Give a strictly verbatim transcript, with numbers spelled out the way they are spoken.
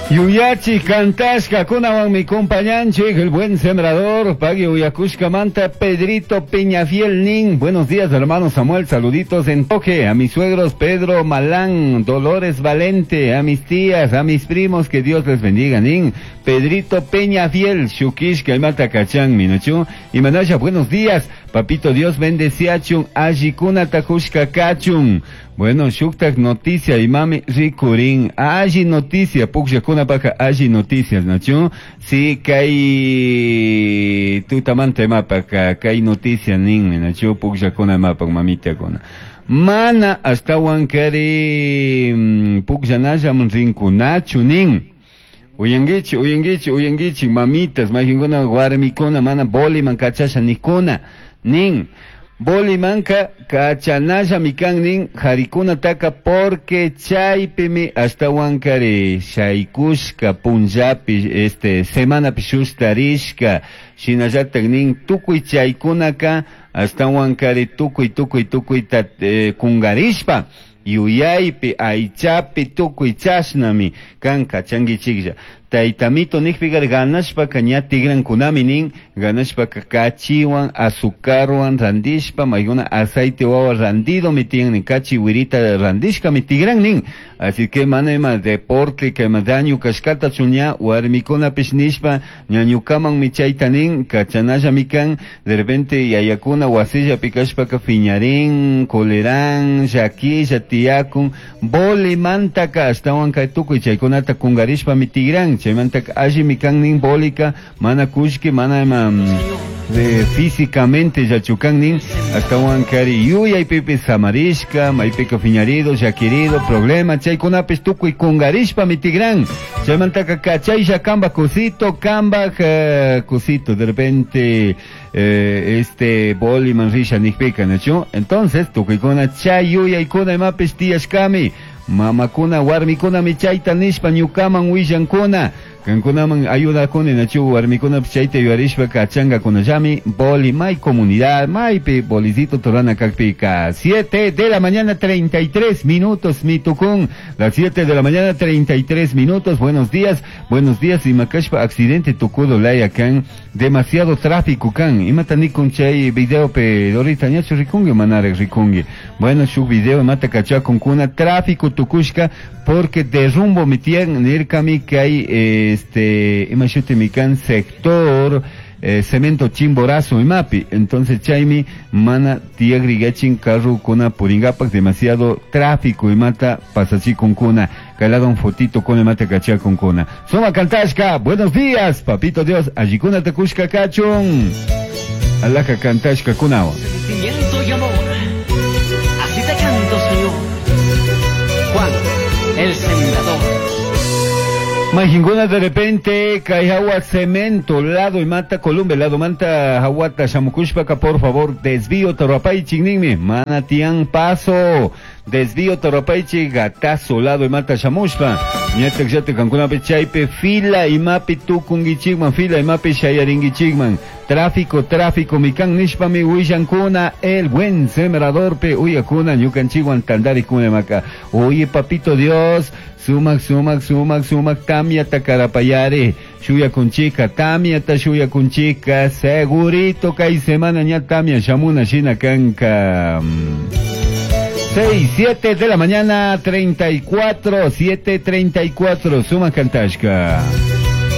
Yuyachi kantashka kunawanmi compañanchik el buen sembrador pagui uyakushka manta Pedrito Peñafiel nin. Buenos días, hermano Samuel, saluditos en toque a mis suegros Pedro Malán, Dolores Valente, a mis tías, a mis primos, que Dios les bendiga nin. Pedrito Peñafiel, Shukishka imata kachan minachu y manasha. Buenos días, papito Dios bendeciachun, allikuna takushka kachun. Bueno, shuktak noticia imami rikurin, alli noticia pukllakuna paka alli noticias, nachu. Si kay tutamanta imapaka kay noticia nin, nachu, pukllakuna imapak mamitakuna. Mana ashtawan kari pukllanallam rinkunachu nin. Uyanguichi, uyanguichi, uyanguichi, mamitas, majinkuna, warmikuna, mana boliman kachasha nikuna, nin. Bolimanka kachanalla mikan nin, harikuna taka porque chaypimi ashtawan kari shaykushka punllapi, este, semanapi shustarishka, shinallatak nin, tukuy chaykunaka ashtawan kari tukuy, tukuy, tukuy ta, eh, kungarishpa, yuyaypi, aychapi, tukuy chashnami kan kachankichiklla. Taytamito nikpiqa ganashpaka ña tigrankunami nin, ganashpaka kachiwan, azucarwan randishpa, maykuna aceite wawa randido mi tiyan nin, kachi wirita randishka mi tigran nin. Así que mana ima deporte que ima daño kashkata chuña, warmikunapish nishpa, ñañukaman mi chayta nin, kachanalla mi kan, de repente yayakuna wasilla pikashpaka fiñarín, colerán, llaquilla, tiyakun, bolimantaka, ashtawan kay tukuy chaykunata kungarishpa mi tigran. Chaymanta alli mi kan nin bolika, mana kushki, mana ima de físicamente yachukan nin, ashtawan kari yuyaypipi samarishka, maypika fiñarido, llaquirido, problema, chaykunapis tukuy kungarishpa mi tigran. Chaymantaka kachaylla kamba kusito, kamba eh, kusito, de repente eh, este boliman risha nikpika, nachu. Entonces tukuykuna chay yuyaykuna imapis tiyashkami. Mamakuna, warmikuna michayta nishpa ñukaman willankuna. Kankunaman ayudakuni nachu warmikuna chayta yuyarishpa kachangakunallami boli may comunidad maypi bolicito torana kakpika. Siete de la mañana treinta y tres minutos mitukun. Las siete de la mañana treinta y tres minutos. Buenos días, buenos días. Imakashpa accidente tukudo laya kan. Demasiado tráfico kan. Imata nikun chay video pe dorita ñachu rikungi manare rikungi. Bueno, shu video imata kachakun kuna tráfico tukushka porque derrumbo mitian nirkami que hay eh, este imashuti mikan sector eh, cemento chimborazo imapi. Entonces chaymi mana tiagrigachin carro kuna puringapak demasiado tráfico imata pasachikun kuna calado un fotito con imata kachakun kuna. Suma kantashka, buenos días, papito Dios, allikuna takushka kachun. Alaka kantashka kunawa. Sentimiento y amor, así te canto, Señor. Juan, el sembrador. Majinguna de repente, Caijawa cemento, lado y mata Columbe, lado manta Jahuata, Shamukushpaka, por favor, desvío Torapaichi, ninmi, Manatián paso, desvío Torapaichi, gatazo, lado y mata Shamushpa, ñatak yate Cancuna chaype, fila y mapi tukungichigman, fila y mapi shayaringichigman, tráfico, tráfico, mikan nishpa mi huillankuna, el buen sembrador pe uyakuna, ñukanchiguan tandari kunemaca. Oye, papito Dios, sumak, sumak, sumak, sumak, tamia takarapayare, shuya kunchika, tamia ta shuya kunchika, segurito kay semana ña tamia shamuna shina kanka. Seis, siete de la mañana, treinta y cuatro, siete treinta y cuatro, sumak kantashka.